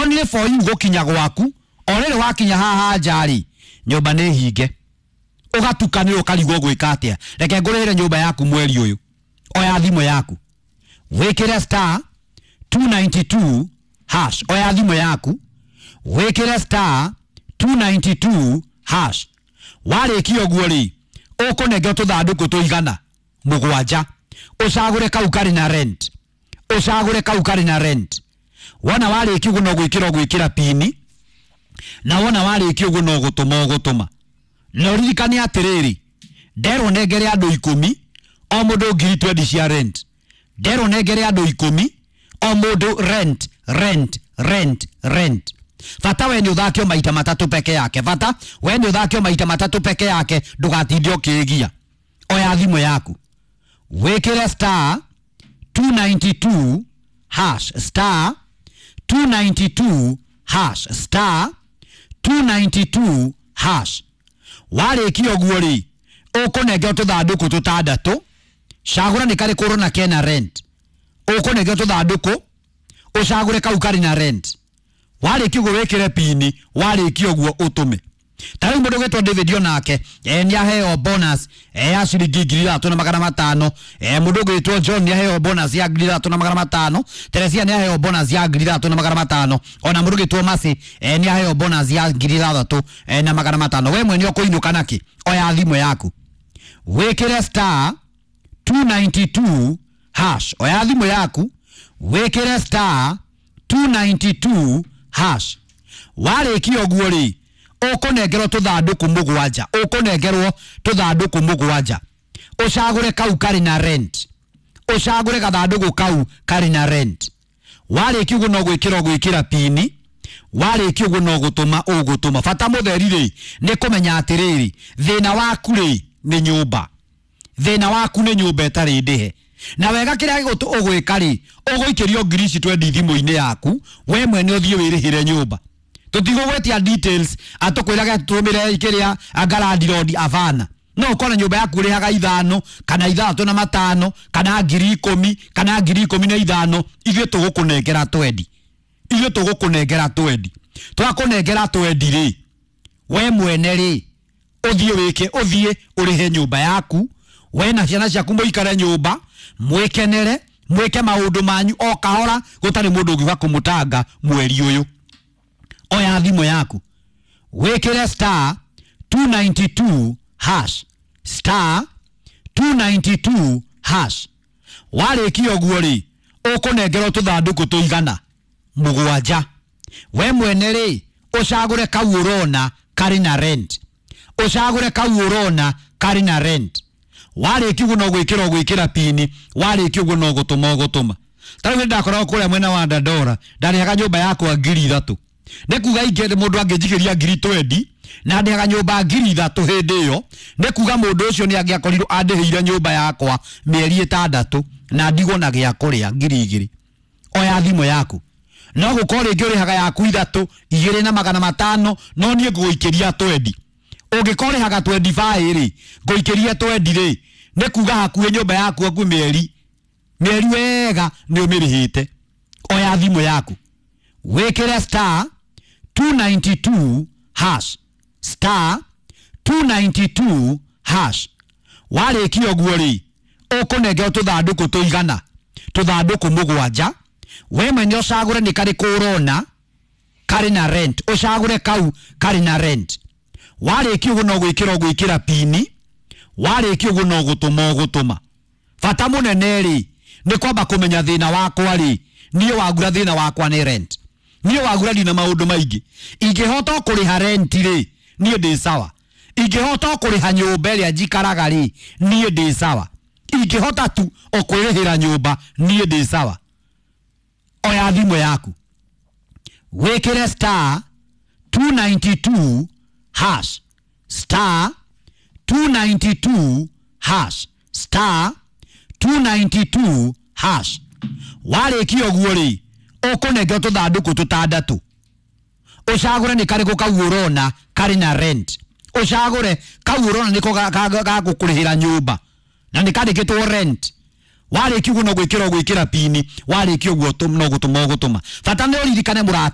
Only for you gũkinya gwaku, o rĩrĩ wakinya haha nja-rĩ, nyũmba nĩ hinge, ũgatukanĩrwo ũkarigwo gwĩka atĩa. Reke ngũrĩhĩre nyũmba yaku mweri ũyũ. Oya thimũ yaku, wĩkĩre star 292 hash. Oya thimũ yaku, wĩkĩre star 292 hash. Warĩkia ũguo rĩ, ũkũnengera tũthandũkũ tũigana mũgwanja, ũcagũre kau karĩ na rent, ũcagũre kau karĩ na rent. Wona warĩkia ũguo no gwĩkĩra ũgwĩkĩra pini, na wona warĩkia ũguo no gũtũma ũgũtũma. Na ũririkane atĩrĩrĩ, nderwo nengere andũ 10 o mũndũ ngiri 20 cia rent. Nderwo nengere andũ 10 o mũndũ rent, rent, rent, rent. Bata we nĩ ũthakio maita matatũ peke yake. Bata we nĩ ũthakio maita matatũ peke yake, ndũgatinde ũkĩĩgia. Oya thimũ yaku, wĩkĩre star 292 hash, star 292 hash, star 292 hash. Warĩkia ũguo rĩ, ũkũnengera tũthandũkũ tũtandatũ, cagũra nĩ karĩkũ ũrona kena rent. Ũkũnengera tũthandũkũ, ũcagũre kau karĩ na rent. Warĩkia ũguo wĩkĩre pini, warĩkia ũguo ũtũme. Ta rĩu mũndũ ũgwĩtwo David onake nĩ aheo bonus ya ciringi 3500. Mũndũ ũgwĩtwo John nĩ aheo bonus ya 3500. Teresia nĩ aheo bonus ya 3500. Ona mũndũ ũgwĩtwo Mercy nĩ aheo bonus ya 6500. We mwene ũkũinũka nakĩ? Oya thimũ yaku, wĩkĩre star 292 hash. Oya thimũ yaku, wĩkĩre star 292 hash. Warĩkia ũguo rĩ, ũkũnengerwo tũthandũkũ mũgwanja, ũkũnengerwo tũthandũkũ mũgwanja, ũcagũre kau karĩ na rent, ũcagũre gathandũkũ kau karĩ na rent. Warĩkia ũguo no gwĩkĩra ũgwĩkĩra pini, warĩkia ũguo no gũtũma ũgũtũma. Bata mũtheri rĩ, nĩ kũmenya atĩrĩrĩ, thĩna waku rĩ nĩ nyũmba, thĩna waku nĩ nyũmba ĩtarĩ ndĩhe. Na wega kĩrĩa ũgwĩka rĩ, ũgũikĩrio ngiri ici 20 thimũ-inĩ yaku, we mwene ũthiĩ wĩrĩhĩre nyũmba. Tũtigũgwĩtia details atũkwĩrage tũmĩre kĩrĩa anga landlord abana. No ũkore nyũmba yaku ũrĩhaga 5 kana 6 na 5 kana 10,000 kana 15,000, ithuĩ tũgũkũnengera 20, ithuĩ tũgũkũnengera 20. Twakũnengera 20 rĩ, we mwene rĩ, ũthiĩ wĩke, ũthiĩ ũrĩhe nyũmba yaku, we na ciana ciaku mũikare nyũmba, mwĩkenere, mwĩke maũndũ manyu o kahora, gũtarĩ mũndũ ũngiuga kũmũtanga mweri ũyũ. Oya thimũ yaku, wĩkĩre star 292 hash, star 292 hash. Warĩkia ũguo rĩ, ũkũnengerwo tũthandũkũ tũigana mũgwanja, we mwene rĩ, ũcagũre kau ũrona karĩ na rent, ũcagũre kau ũrona karĩ na rent. Warĩkia ũguo no gwĩkĩra ũgwĩkĩra pini, warĩkia ũguo no gũtũma ũgũtũma. Ta rĩu nĩndakoragwo kũrĩa mwena wa Dandora, ndarĩhaga nyũmba yakwa 3000. Nĩ kuga ingĩ mũndũ angĩnjikĩria ngiri 20 na ndĩhaga nyũmba 3000 hĩndĩ ĩyo, nĩ kuga mũndũ ũcio nĩ angĩakorirwo andĩhĩire nyũmba yakwa mĩeri 6 na ndigwo na gĩa kũrĩa 2000. Oya thimũ yaku, no gũkorwo rĩngĩ ũrĩhaga yaku 3, 2500, no niĩ ngũgũikĩria 20. Ũngĩkorwo ũrĩhaga 25 rĩ, ngũikĩria 20 rĩ, nĩ kuga hakuhĩ nyũmba yaku hakuhĩ mĩeri wega nĩ ũmĩrĩhĩte. Oya thimũ yaku, wĩkĩre star 292 hash, star 292 hash. Warĩkia ũguo rĩ, ũkũnengerwo tũthandũkũ tũigana tũthandũkũ mũgwanja, we mwene ũcagũre nĩ karĩkũ ũrona karĩ na rent, ũcagũre kau karĩ na rent. Warĩkia ũguo no gwĩkĩra ũgwĩkĩra pini, warĩkia ũguo no gũtũma ũgũtũma. Bata mũnene rĩ, nĩ kwamba kũmenya thĩna wakwa rĩ, niĩ wagura thĩna wakwa nĩ rent. Niĩ wagura ndina maũndũ maingĩ, ingĩhota kũrĩha rent rĩ, niĩ ndĩ sawa. Ingĩhota kũrĩha nyũmba ĩrĩa njikaraga rĩ, niĩ ndĩ sawa. Ingĩhota tu o kwĩrĩhĩra nyũmba, niĩ ndĩ sawa. Oya thimũ yaku, wĩkĩre star 292 hash, star 292 hash, star 292 hash. Warĩkia ũguo rĩ, ũkũnengerwo tũthandũkũ tũtandatũ, ũcagũre nĩ karĩkũ kau ũrona karĩ na rent, ũcagũre kau ũrona nĩko gagũkũrĩhĩra nyũmba na nĩ kandĩkĩtwo rent. Warĩkia ũguo no gwĩkĩra ũgwĩkĩra pini, warĩkia ũguo no gũtũma ũgũtũma. Bata nĩ ũririkane mũrata.